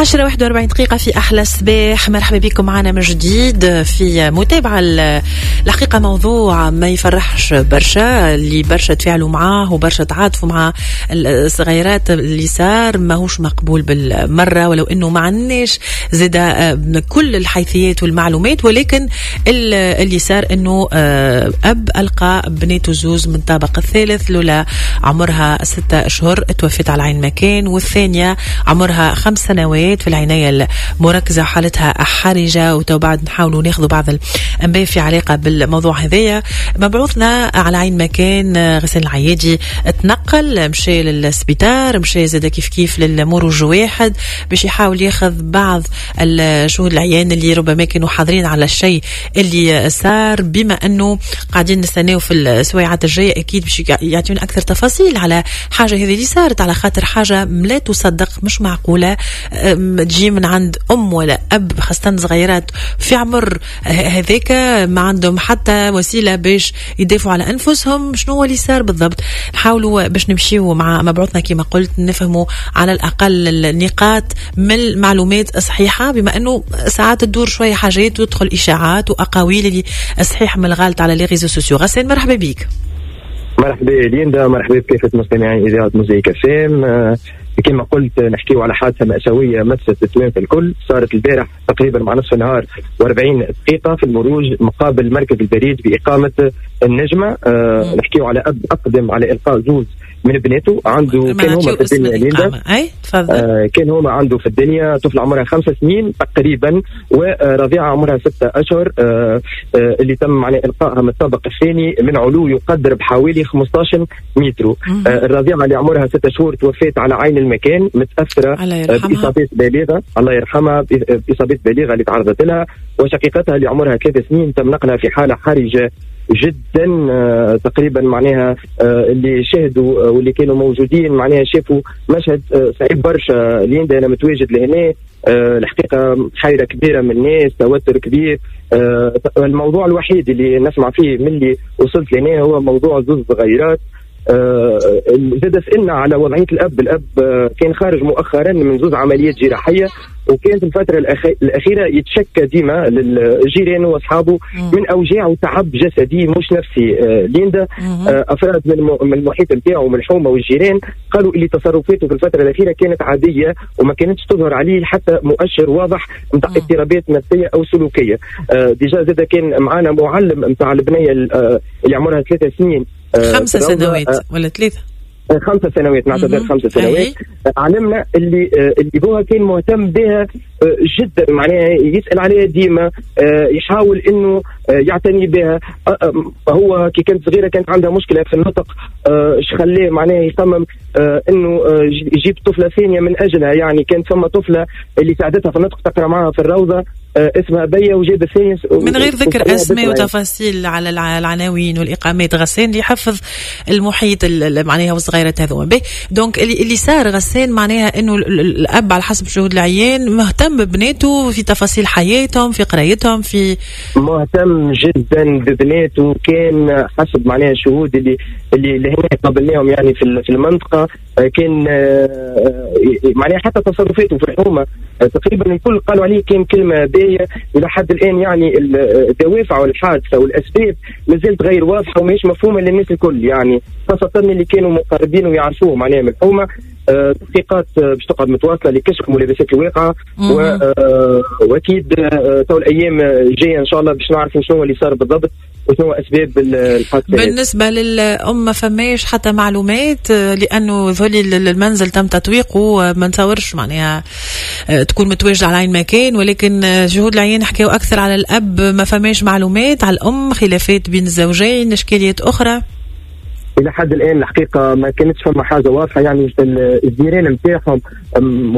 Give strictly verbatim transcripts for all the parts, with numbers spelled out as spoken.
العاشرة واحد وأربعين دقيقة في أحلى صباح. مرحبا بكم معنا من جديد في متابعة. الحقيقة موضوع ما يفرحش برشا، اللي برشا تفاعلوا معاه وبرشا تعاطفوا مع الصغيرات اللي صار ماهوش مقبول بالمرة، ولو أنه ما عندناش زاد كل الحيثيات والمعلومات، ولكن اللي صار أنه أب ألقى بنيته زوز من الطابق الثالث، لولا عمرها ستة أشهر توفت على عين مكان، والثانية عمرها خمس سنوات في العناية المركزة حالتها حرجة. وتو بعد نحاولوا ناخذوا بعض الأنباء في علاقة بالموضوع هذايا. مبعوثنا على عين مكان غسان العيادي تنقل، مشى للسبيطار، مشى زاد كيف كيف للمروج واحد باش يحاول ياخذ بعض الشهود العيان اللي ربما كانوا حاضرين على الشيء اللي صار، بما أنه قاعدين نستناو في السويعات الجاية أكيد باش يعطيونا أكثر تفاصيل على حاجة هذه اللي صارت، على خاطر حاجة لا تصدق، مش معقولة تجي من عند أم ولا أب، خاصة صغيرات في عمر هذاك ما عندهم حتى وسيلة باش يدافعوا على أنفسهم. شنو هو اللي صار بالضبط؟ نحاولوا باش نمشيو مع مبعوثنا كما قلت، نفهموا على الأقل النقاط من المعلومات الصحيحة، بما أنه ساعات تدور شوية حاجات وتدخل إشاعات وأقاويل اللي صحيح من الغلط على les réseaux sociaux. غسان مرحبا بك. مرحبا ليندا، مرحبا بكافة مستمعين إذاعة موزايك اف ام. كما قلت نحكيو على حادثة مأساوية مست التوانسة الكل، صارت البارح تقريبا مع نصف النهار وأربعين دقيقة في المروج مقابل مركز البريد بإقامة النجمة. أه نحكيو على أب أقدم على إلقاء زوز من بناته، عنده كان هما في الدنيا ليندا، آه كان هما عنده في الدنيا طفل عمرها خمس سنين تقريبا ورضيعة عمرها ستة أشهر، آه آه اللي تم معناه إلقائها من الطابق الثاني من علو يقدر بحوالي خمسة عشر متر. آه الرضيعة اللي عمرها ستة شهور توفت على عين المكان متأثرة بإصابات بالغة، الله يرحمها، بإصابات بالغة اللي تعرضت لها، وشقيقتها اللي عمرها ثلاث سنين تم نقلها في حالة حرجة جدا. آه تقريبا معناها آه اللي شاهدوا آه واللي كانوا موجودين معناها شافوا مشهد آه صعيب برشا. ليندا انا متواجد لهنا، آه الحقيقة حيره كبيرة من الناس، توتر كبير. آه الموضوع الوحيد اللي نسمع فيه من اللي وصلت لهنا هو موضوع زوز صغيرات. آه زاد سألنا على وضعية الأب، الأب آه كان خارج مؤخرا من زوز عمليات جراحية، وكان في الفترة الأخيرة يتشكى ديما للجيران وأصحابه من أوجاع وتعب جسدي مش نفسي. آه ليندا آه أفراد من المحيط نتاعو من الحومة والجيران قالوا اللي تصرفاته في الفترة الأخيرة كانت عادية وما كانتش تظهر عليه حتى مؤشر واضح نتاع اضطرابات نفسية أو سلوكية. آه déjà زاد كان معانا معلم نتاع البنية اللي عمرها ثلاث سنين، خمسة سنوات ولا ثلاثة؟ خمسة سنوات، نعتذر خمسة سنوات. علمنا اللي اللي بوها كان مهتم بها جدا، معناها يسأل عليها ديما، يحاول انه يعتني بها. هو كي كانت صغيرة كانت عندها مشكلة في النطق، اش خلاه معناها يصمم انه يجيب طفلة ثانية من اجلها. يعني كانت ثم طفلة اللي ساعدتها في النطق تقرا معها في الروضة اسمها بيا، وجاب الثانية من غير ذكر اسماء وتفاصيل على العناوين والاقامات. غسان اللي يحفظ المحيط معناها والصغيرات هذوما. donc اللي اللي صار غسان معناها انه الاب على حسب شهود العيان مهتم ببناته في تفاصيل حياتهم، في قرايتهم، في مهتم جدا ببناته. كان حسب معناها الشهود اللي اللي اللي هنا قابلناهم يعني في في المنطقة، كان معناها حتى تصرفاته في الحومه تقريبا الكل قالوا عليه كان كلمة باهيه. الى حد الان يعني الدوافع والحادثه والاسباب مازالت غير واضحة وماهيش مفهومه للناس الكل، يعني خاصة اللي كانوا مقربين ويعرفوه معناها من الحومه. تحقيقات باش تقعد متواصلة لكشف ملابسات الواقعة، واكيد تو الايام الجاية ان شاء الله باش نعرفوا شنو اللي صار بالضبط وشنو اسباب الحادثة. بالنسبة للام ما فماش حتى معلومات، لانه ذولي المنزل تم تطويقه، ما نتصورش معناها تكون متواجدة على عين مكان، ولكن شهود العيان حكاوا اكثر على الاب، ما فماش معلومات على الام، خلافات بين الزوجين، اشكاليات اخرى. الى حد الان الحقيقة ما كانتش فما حاجة واضحة، يعني الجيران نتاعهم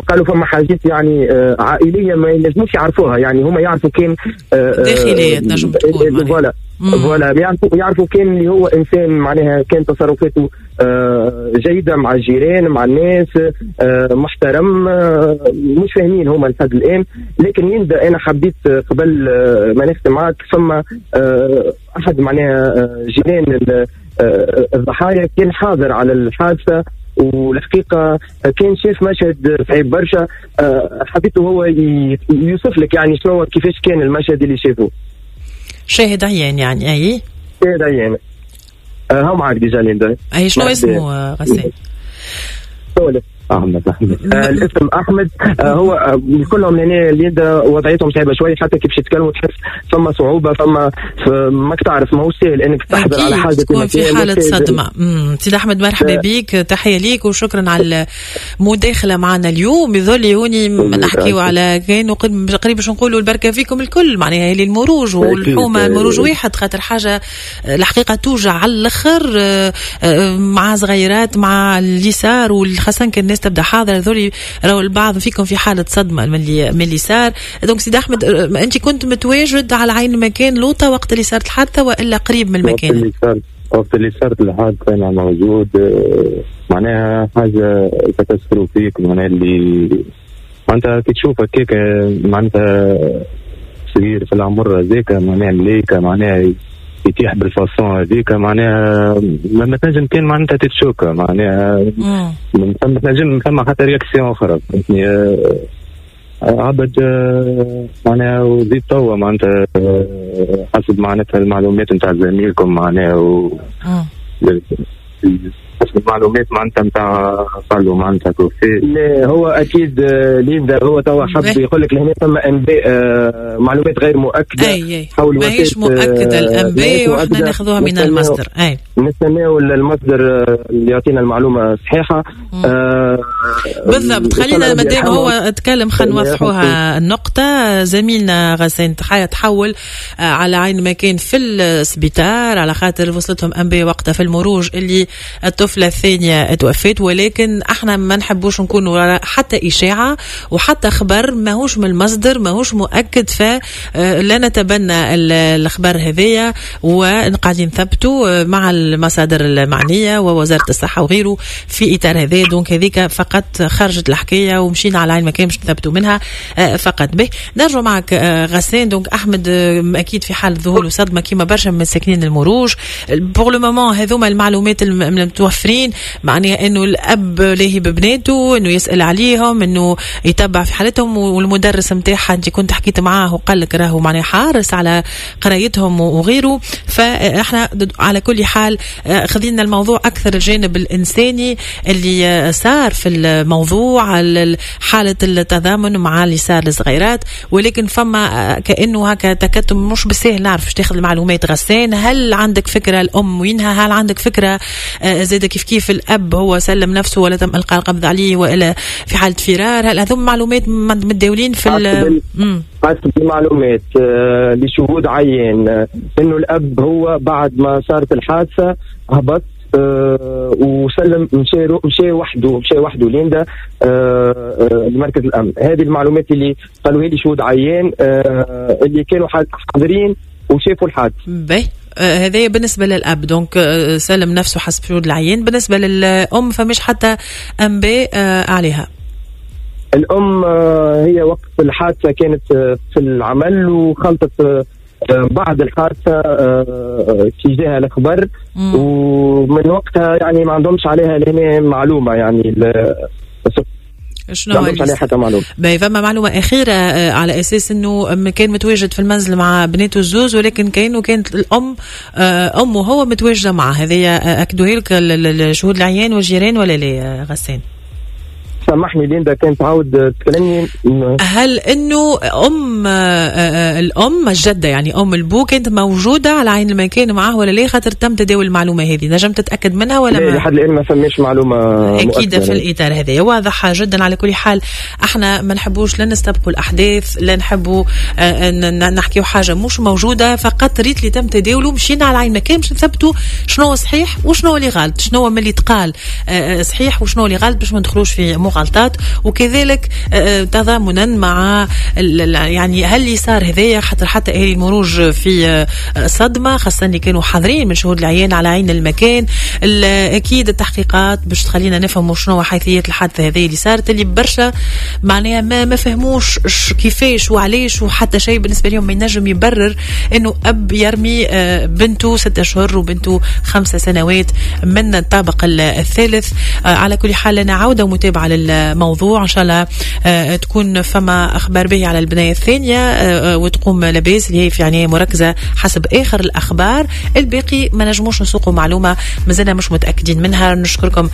قالوا فما حاجات يعني عائلية ما ينجموش يعرفوها، يعني هما يعرفوا كان داخلية تنجم تكون voilà voilà يعرفوا يعرفوا كان اللي هو انسان معناها كان تصرفاته جيدة مع الجيران مع الناس، محترم، مش فاهمين هما لحد الان. لكن يندا انا حبيت قبل ما نختم معاك، ثم احد معناها جيران الضحايا كان حاضر على الحادثة والحقيقة كان شاف مشهد صعيب برشا. حبيته هو يوصف لك يعني شنو كيفاش كان المشهد اللي شافه. شاهد عيان يعني. اي شاهد عيان. هاو معك déjà ليندا. اي شنو اسمه غسان؟ احمد. احمد آه الاسم احمد. آه هو آه كلهم لهنا ليندا وضعيتهم صعيبة شوية، حتى كيف يتكلموا تحس فما صعوبة، فما ماك تعرف ماهوش سهل انك تحضر على حاجة تكون في حاله صدمة. امم سيد احمد مرحبا بك، تحية ليك وشكرا على المداخلة معنا اليوم. يظل هوني نحكيو على كانوا قريب باش نقولوا البركة فيكم الكل، معناها اللي المروج والحومه المروج واحد، خاطر حاجة الحقيقة توجع على الاخر مع صغيرات مع اليسار، وخاصة كان الناس تبدا حاضره. ذولي راهو البعض فيكم في حاله صدمة من اللي من اللي صار. donc سيد احمد انت كنت متواجد على عين المكان لوطه وقت اللي صارت الحادثة والا قريب من المكان؟ وقت اللي صارت وقت اللي صارت الحادثة انا موجود. معناها حاجة catastrophique، معناها اللي معناتها كي تشوف هكاك معناتها صغير في العمر هذاك معناها ملايكة معناها يتيح بال façon هذيك معناها ما تنجم كان معناتها تتشوكا معناها ما تنجم ثم حتى réaction اخرى فهمتني. عبد معناها وزيد توا معناتها حسب معناتها المعلومات نتاع زميلكم معناها و حسب المعلومات معناتها نتاع قالوا معناتها توفي. لا هو اكيد ليندا هو توا حب يقول لك لهنا ثم انباء معلومات غير مؤكدة. أي أي. حول ماهيش مؤكدة الانباء واحنا ناخذوها من المصدر. اي نستناو المصدر اللي يعطينا المعلومة الصحيحة. آه بالضبط. خلينا مادام هو تكلم خلينا نوضحوها النقطة. زميلنا غسان تحول على عين مكان في السبيطار على خاطر وصلتهم انباء وقتها في المروج اللي الطفلة الثانية توفت، ولكن احنا ما نحبوش نكونوا حتى إشاعة وحتى خبر ماهوش من المصدر ماهوش مؤكد، فلا نتبنى الخبر هذايا وقاعدين نثبتوا مع المصادر المعنية ووزارة الصحة وغيره في إطار هذا. donc هذيك فقط خرجت الحكاية ومشينا على عين مكان باش نثبتوا منها فقط. به نرجع معك غسان. donc أحمد أكيد في حال ذهول وصدمة كيما برشا من ساكنين المروج pour le moment هذوما المعلومات المتوفرين، معناها انه الاب لاهي ببناته، انه يسال عليهم، انه يتبع في حالتهم، والمدرس نتاعها انت كنت حكيت معاه وقال لك راهو معناها حارس على قرايتهم وغيره. فاحنا على كل حال خذينا الموضوع اكثر الجانب الانساني اللي صار في الموضوع، حاله التضامن مع اللي صار للصغيرات، ولكن فما كانه هكا تكتم مش بالسهل نعرف باش تاخذ المعلومات. غسان هل عندك فكرة الام وينها؟ هل عندك فكرة زاد كيف كيف الاب هو سلم نفسه ولا تم القاء القبض عليه والا في حاله فرار؟ هل هذوم معلومات متداولين في حسب المعلومات لشهود عين انه الاب هو بعد ما صارت الحادثة هبط وسلم، مشى مشى وحده مشى وحده ليندا لمركز الامن. هذه المعلومات اللي قالوها لي شهود عيان اللي كانوا حاضرين وشافوا الحادث. باهي هذا بالنسبة للأب donc سلم نفسه حسب شهود العيان. بالنسبة للأم فمش حتى أنباء عليها. الأم هي وقت الحادثة كانت في العمل وخلطت بعد الحادثة في جهة الخبر، ومن وقتها يعني ما عندهمش عليها لهنا معلومة يعني شنو عليه حتى معلومة. باهي فما معلومة أخيرة على أساس أنه كان متواجد في المنزل مع بناته الزوز، ولكن كأنه كانت الأم أمه هو متواجدة معه. هذه أكدوها لك الشهود العيان والجيران ولا لا غسان؟ سامحني ليندا كانت تعاود تكلمني. هل انه ام الام الجدة يعني ام البو كانت موجودة على عين المكان معاه ولا لا؟ خاطر تم تداول المعلومة هذه، نجم تتاكد منها ولا ما؟ لحد الان ما فماش معلومة اكيدة في الاطار هذا. واضحة جدا. على كل حال احنا ما نحبوش لا نستبقوا الاحداث، لا نحبوا نحكيو حاجة مش موجودة، فقط ريت اللي تم تداوله مشينا على عين المكان باش نثبتوا شنو صحيح وشنو اللي غلط، شنو من اللي تقال صحيح وشنو اللي غلط، باش ما ندخلوش في مغالطات، وكذلك تضامنا مع يعني هل اللي صار هذايا، حتى حتى اهالي المروج في صدمة، خاصة اللي كانوا حاضرين من شهود العيان على عين المكان. اكيد التحقيقات باش تخلينا نفهموا شنو حيثيات الحادثة هذه اللي صارت، اللي برشا معناها ما ما فهموش كيفاش وعلاش، وحتى شيء بالنسبة لهم ما ينجم يبرر انه اب يرمي بنته ستة اشهر وبنته خمسة سنوات من الطابق الثالث. على كل حال لنا عوده ومتابعة للموضوع، ان شاء الله تكون فما اخبار به على البناية الثانية وتقوم لاباس، اللي هي في عناية مركزه حسب اخر الاخبار. الباقي ما نجموش نسوقوا معلومة مازلنا مش متاكدين منها. نشكركم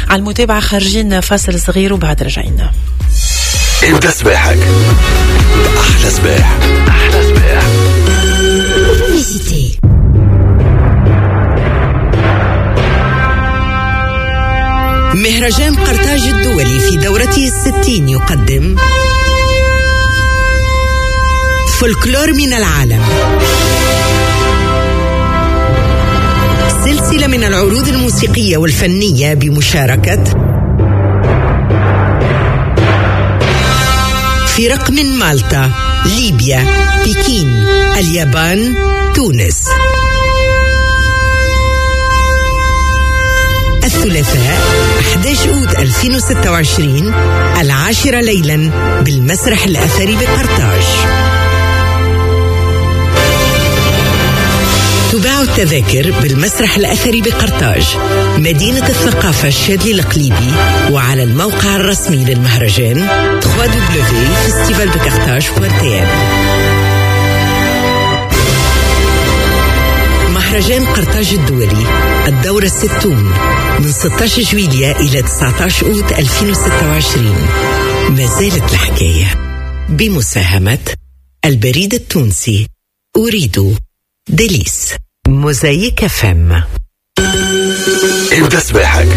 على المتابعة، خارجين فاصل صغير وبعد رجعين. ابدا صباحك احلى صباح، احلى صباح. مهرجان قرطاج الدولي في دورته الستين يقدم فولكلور من العالم، سلسلة من العروض الموسيقية والفنية بمشاركة فرق من مالطا، ليبيا، بكين، اليابان، تونس. الثلاثاء أحد عشر أوت ألفين وستة وعشرين العاشرة ليلا بالمسرح الأثري بقرطاج. تباع التذاكر بالمسرح الأثري بقرطاج، مدينة الثقافة الشاذلي القليبي، وعلى الموقع الرسمي للمهرجان دبليو دبليو دبليو دوت فيستيفال دو قرطاج دوت تي إن. مهرجان قرطاج الدولي الدورة الستون من ستة عشر جويلية إلى تسعة عشر أوت ألفين وستة وعشرين. ما زالت الحكاية بمساهمة البريد التونسي، أريد ديليس، موزايك فم. ابدأ صباحك